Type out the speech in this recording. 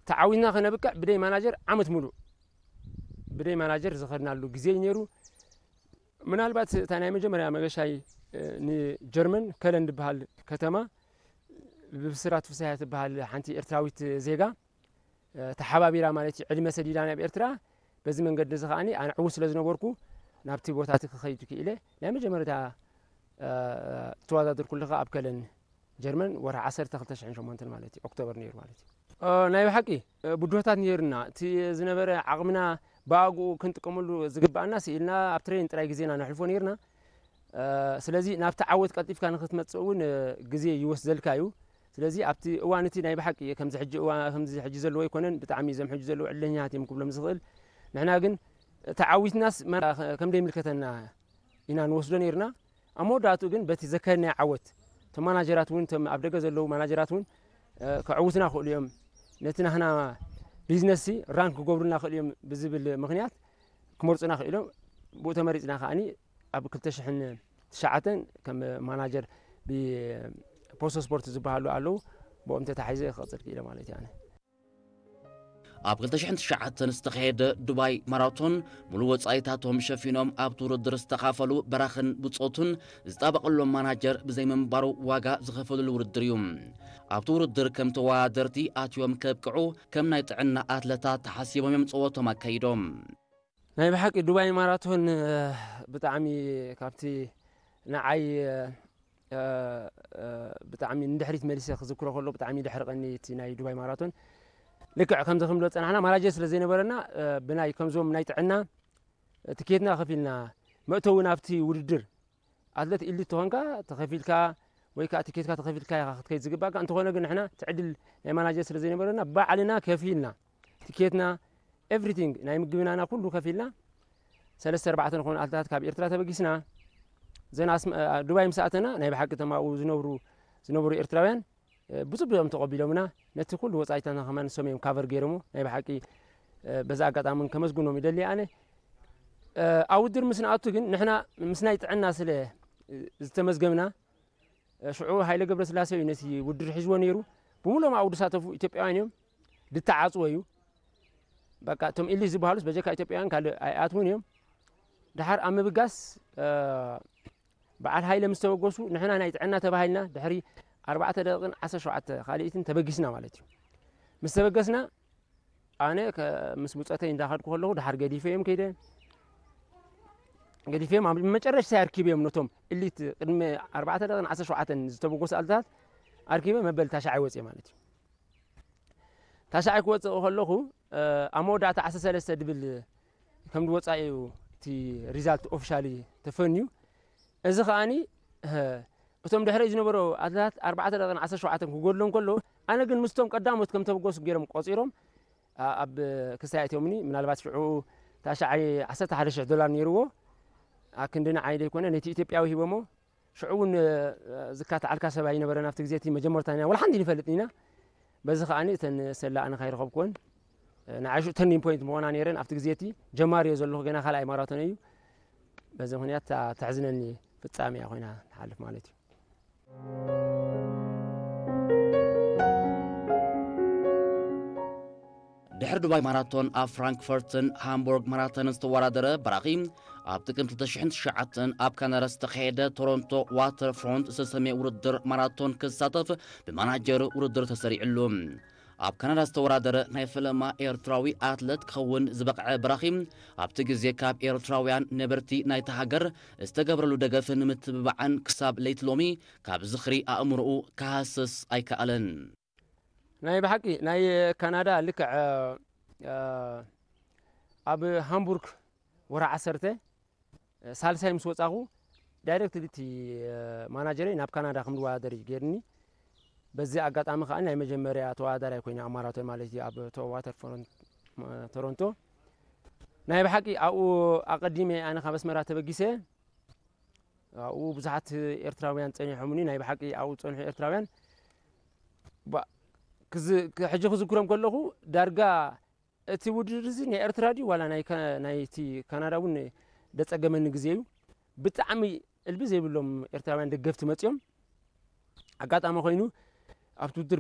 ተዓዊትና ከነብቅዕ ብደይ ማናጀር ዓመት ሙሉእ ብደይ ማናጀር ዝኸድናሉ ግዜ እዩ ነይሩ። ምናልባት እታ ናይ መጀመርያ መገሻይ፣ እ፣ ንጀርመን ከለን ዝበሃል ከተማ ብብስራት ፍስሃ ትበሃል ሓንቲ ኤርትራዊት ዜጋ፣ እ፣ ተሓባቢራ ማለት እዩ፣ ዕድመ ሰዲዳ ናብ ኤርትራ። በዚ መንገዲ እዚ ከኣኒ ኣነ ዕዉት ስለ ዝነበርኩ ናብቲ ቦታ እቲ ክኸይድ ክኢለ። ናይ መጀመርታ፣ እ፣ ዝተወዳደርኩሉ ከኣ ኣብ ከለን ጀርመን ወርሒ ዓሰርተ ክልተ ሽሕን ሸሞንተን ማለት እዩ፣ ኦክቶበር ነይሩ ማለት እዩ። እ፣ ናይ ብሓቂ፣ እ፣ ብድሆታት ነይሩና። እቲ ዝነበረ ዓቕምና ብኣግኡ ክንጥቀመሉ ዝግባኣና ስኢልና ኣብ ትሬን ጥራይ ግዜና ነሕልፎ ነይርና። እ፣ ስለዚ ናብቲ ዓወት ቀልጢፍካ ንክትመጽእ እውን፣ እ፣ ግዜ ይወስደልካ እዩ። ስለዚ ኣብቲ እዋን እቲ ናይ ብሓቂ ከምዚ ሕጂ እዋ-፣ ከምዚ ሕጂ ዘለዎ ኣይኮነን። ብጣዕሚ እዞም ሕጂ ዘለዉ ዕድለኛታት እዮም ክብሎም ዝኽእል። ንሕና ግን ተዓዊትናስ መራ-፣ ከም ደይምልከተና ኢና ንወስዶ ነይርና። ኣብ መወዳእትኡ ግን በቲ ዘካየድናዮ ዓወት፣ እቶም ማናጀራት እውን፣ እቶም ኣብ ደገ ዘለዉ ማናጀራት እውን፣ እ፣ ከዕውቱና ክእሉ እዮም፣ ነቲ ናህና ቢዝነስ ሲ ራንክ ክገብሩልና ክእሉ እዮም ብዝብል ምኽንያት ክመርጹና ክኢሎም። ብኡ ተመሪጽና ከኣኒ ኣብ ክልተ ሽሕን ትሽዓተን ከም ማናጀር ብፖስቶ ስፖርት ዝበሃሉ ኣለዉ፣ ብኦም ተታሒዘ ክቐጽል ክኢለ ማለት እዩ ኣነ። ኣብ ክልተ ሽሕን ትሽዓተን ዝተኻየደ ዱባይ ማራቶን፣ ሙሉእ ወጻኢታቶም ሸፊኖም ኣብቲ ውድድር ዝተኻፈሉ በራኽን ብጾቱን ዝጣበቐሎም ማናጀር ብዘይምንባሩ ዋጋ ዝኸፈሉሉ ውድድር እዩ። ኣብቲ ውድድር ከም ተወዳደርቲ ኣትዮም ከብቅዑ ከም ናይ ጥዕና ኣትለታት ተሓሲቦም እዮም ጸወቶም ኣካይዶም። ናይ ብሓቂ ዱባይ ማራቶን፣ እ፣ ብጣዕሚ ካብቲ ንዓይ፣ እ፣ እ፣ እ፣ ብጣዕሚ ንድሕሪት መሊሰ ክዝክሮ ከሎ ብጣዕሚ ደሕርቐኒ እቲ ናይ ዱባይ ማራቶን። ልክዕ ከምዚ ክንብሎ ዝጸናሕና ማናጀር ስለ ዘይነበረና፣ እ፣ ብናይ ከምዞም ናይ ጥዕና ትኬትና ከፊልና መእተዊ ናብቲ ውድድር ኣትለት ኢሊት ተኾንካ ተኸፊልካ ወይ ከኣ ትኬትካ ተኸፊልካ ኢኻ ክትከይድ ዝግባእካ። እንተኾነ ግን ንሕና እቲ ዕድል ናይ ማናጀር ስለ ዘይነበረና ባዕልና ከፊልና ትኬትና፣ ኤቭሪቲንግ፣ ናይ ምግብናና ኩሉ ከፊልና ሰለስተ ኣርባዕተ ንኾኑ ኣትለታት ካብ ኤርትራ ተበጊስና። ዘን ኣስመ-፣ ዱባይ ምስ ኣተና ናይ ብሓቂ እቶም ኣብኡ ዝነብሩ፣ ዝነበሩ ኤርትራውያን፣ እ፣ ብጽቡቕ እዮም ተቐቢሎምና። ነቲ ኩሉ ወጻኢታትና ከማን ንሶም እዮም ካቨር ገይሮሞ። ናይ ብሓቂ፣ እ፣ በዚ ኣጋጣሚ እውን ከመስግኖም ይደሊ ኣነ። እ፣ ኣብ ውድድር ምስ ንኣቱ ግን ንሕና ምስ ናይ ጥዕና ስለ ዝተመዝገብና፣ እ፣ ሽዑ ሃይለ ገብረስላሴ እዩ ነቲ ውድድር ሒዝዎ ነይሩ። ብምሎም ኣብኡ ዝሳተፉ ኢትዮጵያውያን እዮም። ዝተዓጽወ እዩ። በቃ እቶም ኢሊት ዝበሃሉስ በጀካ ኢትዮጵያውያን ካልእ ኣይኣትውን እዮም። ደሓር ኣብ ምብጋስ፣ እ፣ በዓል ሃይለ ምስ ተበገሱ ንሕና ናይ ጥዕና ተባሂልና ድሕሪ ኣርባዕተ ደቂቕን ዓሰርተ ሸውዓተ ካልኢትን ተበጊስና ማለት እዩ። ምስ ተበገስና ኣነ ከ-፣ ምስ ብጾተይ እንዳኸድኩ ከለኹ ደሓር ገዲፈ እዮም ከይደ። ገዲፈ እዮም ኣብ መጨረሽታ ኣርኪበ እዮም ነቶም ኢሊት ቅድሚ ኣርባዕተ ደቂቕን ዓሰርተ ሸውዓተን ዝተበገሱ ኣትለታት ኣርኪበ መበል ታሽዓይ ወጽየ ማለት እዩ። ታሽዓይ ክወጽእ ከለኹ፣ እ፣ ኣብ መወዳእታ ዓሰርተ ሰለስተ ድብል ከም ዝወጻ እዩ እቲ ሪዛልት ኦፊሻሊ ተፈንዩ። እዚ ከኣኒ፣ እ፣ እቶም ድሕረይ ዝነበሩ ኣትለታት ኣርባዕተ ደቂቕን ዓሰርተ ሸውዓተን ክጎድሎም ከሎ፣ ኣነ ግን ምስቶም ቀዳሞት ከም ተበገሱ ገይሮም ቆጺሮም፣ ኣ-፣ ኣብ ክሳይ ኣእትዮምኒ። ምናልባት ሽዑ ታሽዓይ ዓሰርተ ሓደ ሽሕ ዶላር ነይርዎ። ኣክንዲ ንዓይ ዘይኮነ፣ ነቲ ኢትዮጵያዊ ሂቦሞ። ሽዑ እውን፣ እ፣ ዝካትዓልካ ሰብ ኣይነበረን ኣብቲ ግዜ እቲ መጀመርታ ኢና፣ ወላ ሓንቲ ንፈልጥ ኢና። በዚ ከኣኒ እተን ሰላ ኣነ ካይረኸብኩወን፣ እ፣ ንዓይ ሽዑ ተርኒንግ ፖይንት ምኾና ነይረን። ኣብቲ ግዜ እቲ ጀማሪ እየ ዘለኹ፣ ገና ካልኣይ ማራቶን እዩ። በዚ ምኽንያት እታ ተሕዝነኒ ፍጻሜ እያ ኮይና ትሓልፍ ማለት እዩ። ድሕሪ ዱባይ ማራቶን ኣብ ፍራንክፈርትን ሃምቡርግ ማራቶንን ዝተወዳደረ በራኺ፣ ኣብ ጥቅምቲ ክልተ ሽሕን ትሽዓተን ኣብ ካናዳ ዝተኻየደ ቶሮንቶ ዋተር ፍሮንት ዝተሰምየ ውድድር ማራቶን ክሳተፍ ብማናጀር ውድድር ተሰሪዕሉ። ኣብ ካናዳ ዝተወዳደረ ናይ ፈለማ ኤርትራዊ ኣትለት ክኸውን ዝበቕዐ በራኺ፣ ኣብቲ ግዜ ካብ ኤርትራውያን ነበርቲ ናይታ ሃገር ዝተገብረሉ ደገፍን ምትብባዕን ክሳብ ለይቲ ሎሚ ካብ ዝኽሪ ኣእምሮኡ ክሃስስ ኣይከኣለን። ናይ ብሓቂ ናይ ካናዳ ልክዕ፣ እ፣ ኣብ ሃምቡርግ ወርሒ ዓሰርተ፣ እ፣ ሳልሳይ ምስ ወጻኹ ዳይሬክትሊ እቲ፣ እ፣ ማናጀረይ ናብ ካናዳ ከም ዝወዳደር እዩ ገይርኒ። በዚ ኣጋጣሚ ከኣ ናይ መጀመርያ ተወዳዳራይ ኮይነ ኣብ ማራቶን ማለት እዩ ኣብ ቶ-፣ ዋተር ፍሮንት፣ እ፣ ቶሮንቶ። ናይ ብሓቂ ኣብኡ ኣቐዲመ ኣነ ካብ ኣስመራ ተበጊሰ ኣብኡ ብዙሓት ኤርትራውያን ጸኒሖምኒ፣ ናይ ብሓቂ ኣብኡ ዝጸንሑ ኤርትራውያን ባ-፣ ክዝ-፣ ክ-፣ ሕጂ ክዝክሮም ከለኹ ዳርጋ እቲ ውድድር እዚ ናይ ኤርትራ ድዩ ዋላ ናይ ከ-፣ ናይቲ ካናዳ እውን ደጸገመኒ ግዜ እዩ። ብጣዕሚ እልቢ ዘይብሎም ኤርትራውያን ደገፍቲ መጺኦም። ኣጋጣሚ ኮይኑ ኣብቲ ውድድር